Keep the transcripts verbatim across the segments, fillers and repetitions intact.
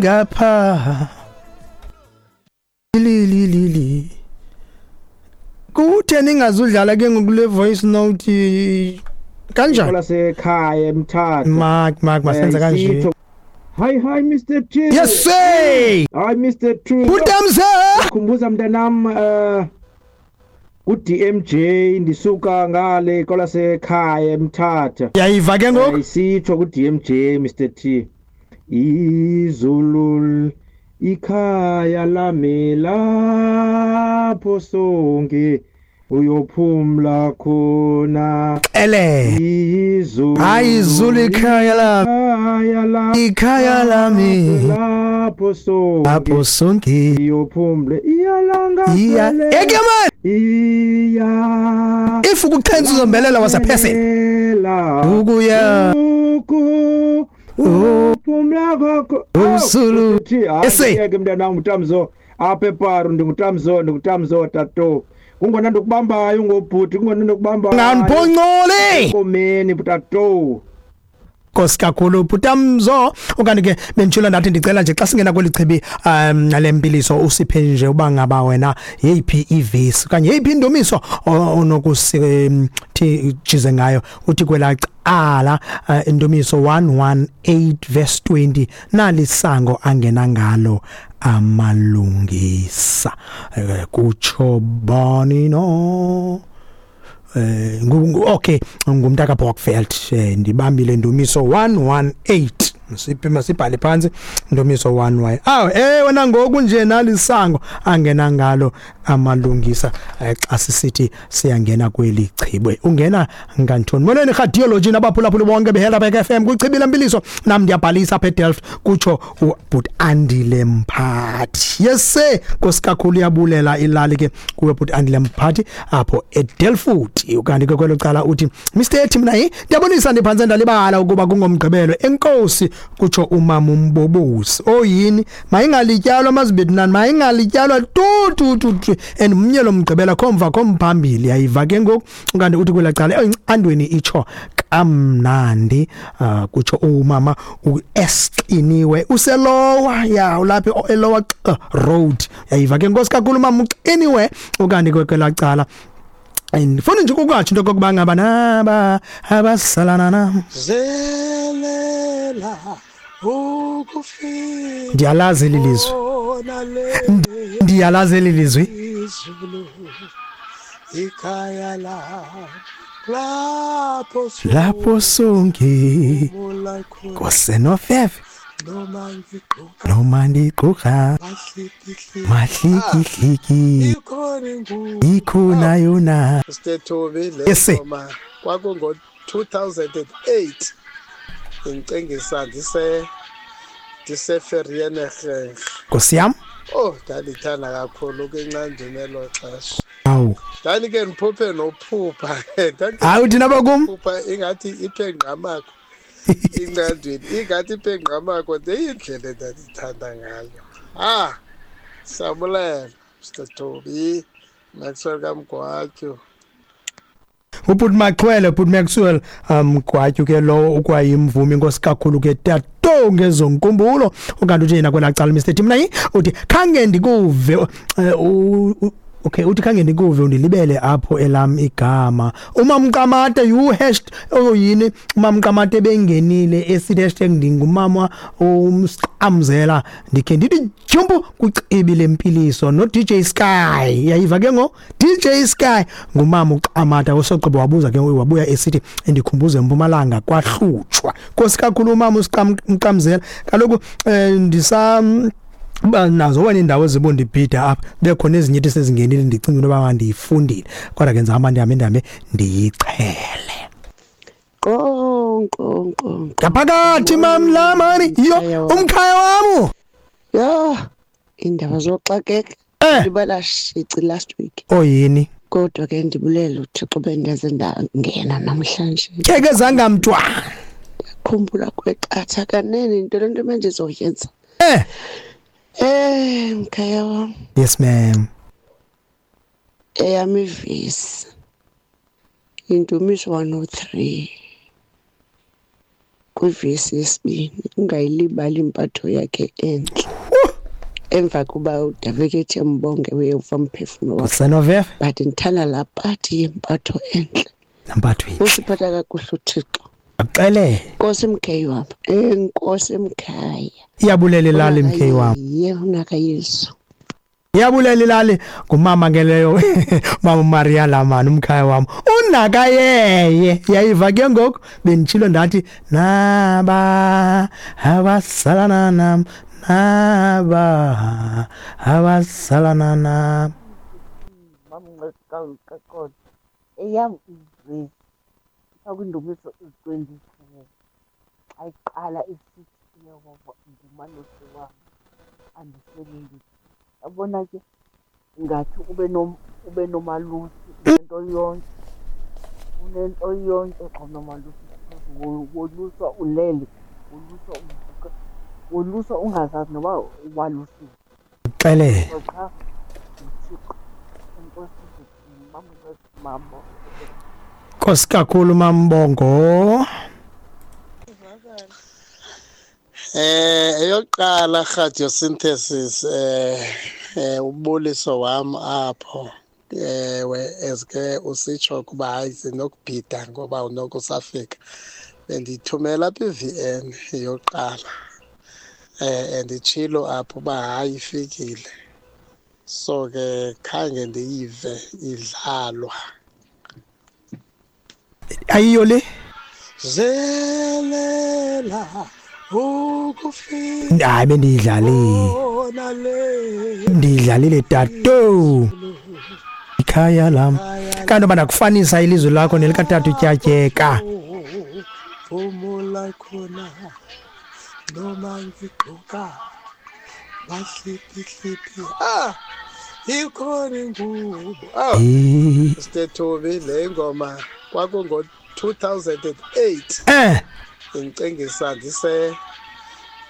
Ngapha li li li li kuthe ningazudlala ke ngokule voice note kanjani lasekhaya eMthatha. Mark Mark, masenze Eh, kanje. isitho. Hi hi, Mister T. Yes sir. Hi, Mister T. Butamza. Khumbuza mntanam, eh ku D M J, ndisuka ngale kwalasekhaya eMthatha. Yayiva ke ngoku. Eh, isitsho ku D M J, Mister T. Izulu ikhaya lami, lapho sonke uyophumla khona. Ele. Izulu. Hayi, izulu ikhaya lami. Ikhaya lami. Ikhaya lami. Lapho sonke lapho sonke uyophumla iyalanga. Iya eke man. Iya. If ukuchenza uzombelela was a person ukuya uku uphumla kwakho Usulu. Ese. Ese mntanam, uTamzo apha eParu. Ndingutamzo, ndingutamzo tato, kungona ndikubambayo ngobhuti, kungona ndikubambayo. Nganiphoncole. Enkomeni, tato. Nkosi kakhulu, Bhutamzo. Okanye ke benditshilo, ndathi ndicela nje xa singena kweli chibi um lempiliso usiphe nje uba ngaba wena yeyiphi ivesi okanye yeyiphi indumiso onokusithi jize ngayo. Uthi kwelaa cala, uh, indumiso one hundred eighteen verse twenty, nalisango angena ngalo amalungisa. Eh, kutsho bani no? eh ngu- okay ngumntaka Bokveld. eh, ndibambile ndumiso one hundred eighteen. Siphi, masibhale phansi ndumiso one y. Aw, eh wena ngoku nje nalisango angena ngalo amalungisa. eh, xa sisithi siyangena kweli chibwe, ungena ngantoni? Molweni radiology nabaphulaphuli bonke beHelderberg F M kwichibi lempiliso. Nam ndiyabhalisa apha eDelft, kutsho ubhut Andile Mphathi. Yes sir, nkosi kakhulu, iyabulela ilali ke kuwe, bhut Andile Mphathi apho eDelft. Ukanti ke kwelo cala uthi, Mister Ethi, mina yi ndiyabonisa, ndiphantse ndalibala ukuba kungomgqibelo. Enkosi, kutsho umama umbobosi. Oyini, mayingalityalwa mazibethinani, mayingalityalwa tu tu tu tu, and mnye lo mgqibela khomva khomphambili. Yayiva ke ngoku. Ukanti uthi kwela cala andweni itsho kamnandi, uh, kutsho umama uesqiniwe uselowa ya ulapha elowa road. Yayiva ke, nkosi kakhulu, mama uqiniwe. Ukanti kwela cala ndifuna nje ukukatsho into okokuba ngaba naba abasalana nam Zelela ukufika. Ndiyalazi eli lizwi. Ndiyalazi eli lizwi. Izulu ikhaya la lapho lapho sonke sophumula khona. Kosenofefe. Noma ngigqoka noma ndigqoka mahlikihliki, mahlikihliki, ikhona ingubo. Ikhona yona. Mister Toby, le Yes, sir. ngoma kwakungo two thousand eight, ngicengisa ndise ndise-Vereeniging. Nkosi yam. Oh, ndandithanda kakhulu kwinqandini elo xesha. Awu. Ndandike ndiphuphe nophupha. Ndandike Hayi, uthina bakum. Phupha ingathi iphe ngqamakho inqandweni, ingathi iphe ngqamakho, ndeyindlela endandithanda ngayo. Ah, siyabulela, Mister Toby Maxwell kaMgwatyu. Ubhuti Maxwell, ubhuti Maxwell um Gwatyu ke lo ukwayimvumi. Inkosi kakhulu ke tato ngezonkumbulo. Ukanti uthi yena kwelaa cala, Mister Timnayi, uthi khange ndikuve, eh, u- u- okay, uthi khange ndikuve, undilibele apho elam igama. Umamqamate you hash oyini, umamqamate bengenile esithi hashtag ndingumama umsqamzela, ndikhe ndithi jumpu kucibi lempiliso no D J Sky. Yayiva ke ngo D J Sky, ngumama uqamata usogqiba wabuza ke, wabuya esithi endikhumbuze eMpumalanga kwahlutshwa. Nkosi kakhulu, umama usiqamzela. Kaloku eh, ndisa ba nazo wena indawo ezibondibhida apha, bekhona ezinye into sezingenile, ndicinga into yoba ndiyifundile, kodwa ke ndizahamba ndihambe ndihambe ndiyichele. Qo qo qo. Ngaphakathi mamlamani yo umkhaya wami. Ya, indaba zoxakeka. Eh. Ndibala shici last week. Oyini. Kodwa ke ndibulela uThixo bendenze ndangena namhlanje. Keke zangamntwana. Khumbula kweqatha kanene into lento manje izoyenza. Eh. Eh, mkhaya wami. Yes ma'am. Eyami ivesi. Indumiso one oh three. Kwivesi yesibini, ungayilibali impatho yakhe entle. Emva kuba uDavide ethe mbonge uyeva umphefumlo wakhe. Usenoveve But ndithanda laa pati yempatho entle. Nampatho entle. Usiphatha kakuhle uThixo. Akuxelele. Nkosi mkheyi wam. Enkosi mkhaya. Iyabulela ilali mkheyi wam. Ye unakaYesu. Iyabulela ilali ngumama ke leyo, mama Maria Lamani umkhaya wam. Unakayeye. Yayiva ke ngoku benditshilo ndathi naba abasalana nam naba abasalana nam. Mamnqekaqoqo eyam ivesi kwindumiso twenty-four xa iqala isithi uYehova ngumalusi wam andisweli. Yabona ke ngathi ube nom ube nomalusi unento yonke unento yonke xa unomalusi woluswa ulele woluswa uvuka woluswa ungazazi noba walusiwe. Xelele. Qha uThixo enkosi mama. Nkosi kakhulu Mambongo. Eh eyokuqala radiosynthesis eh eh ubuliso wam apho ewe eske usitsho kuba hayi sinokubhida ngoba unokusafika bendithumela apha i-V N yokuqala eh anditshilo apho uba hayi ifikile so ke khange ndiyive idlalwa. Ayiyo le zelela ukufika. Hayi bendiyidlalile ndiyidlalile tato ikhaya lam kanti uba ndakufanisa ilizwi lakho nelikatata utyatyeka phumula khona noma ngigqoka bahliphi ah ikhona ingubo ah Stethobi le ngoma kwakungo two thousand eight eh ngicingisa ndise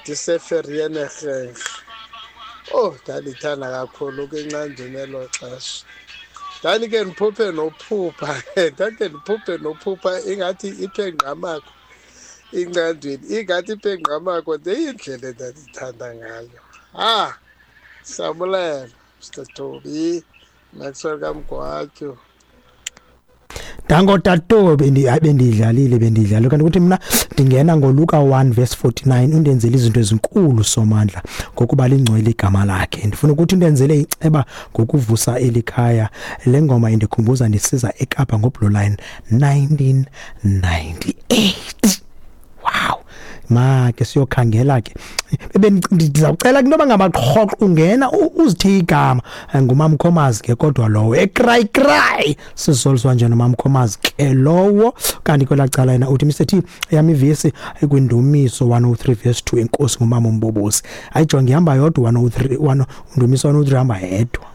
ndiseFerienerheng. Oh ndalithanda kakhulu kwinqanjini elo xesha. Ndandike ndiphuphe nophupha ndandike ndiphuphe nophupha ingathi iphe ngqamakho inqandweni ingathi iphe ngqamakho ndeyindlela endandithanda ngayo. Ah siyabulela Mister Toby Maxwell kaMgwatyu. Dango tato bendi bendidlalile bendidlalile kanti ukuthi mina ndingena ngoLuka one verse forty-nine undenzele izinto ezinkulu Somandla ngokuba lingcwele igama lakhe. Ndifuna ukuthi undenzele iceba ngokuvusa elikhaya. Le ngoma indikhumbuza ndisiza eKapa ngoBlue Line nineteen ninety-eight. Wow. Ma ke siyokhangela ke bendizawucela into bangabaqhoqo ungena uzithe igama ngumamkhomazi ke kodwa lowo ecry cry sizoliswa nje nomamkhomazi ke lowo. Kanti kwelacala yena uthi Mister T yami ivesi kwindumiso one oh three verse two enkosi ngumama umbobosi. Ayijonge ihamba yodwa one oh three one undumiso one oh three hamba yedwa.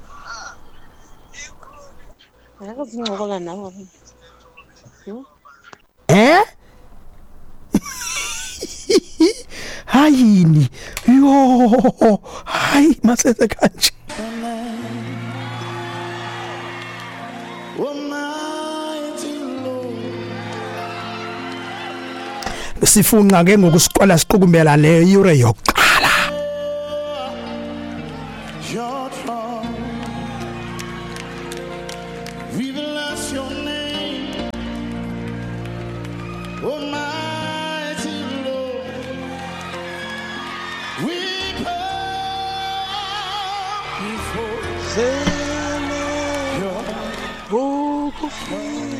Akazincokola nawe. Eh? Hayini yo hayi masenze kanje. Sifunqa ke ngokusiqala siqukumbela le yure yokuqala. Before.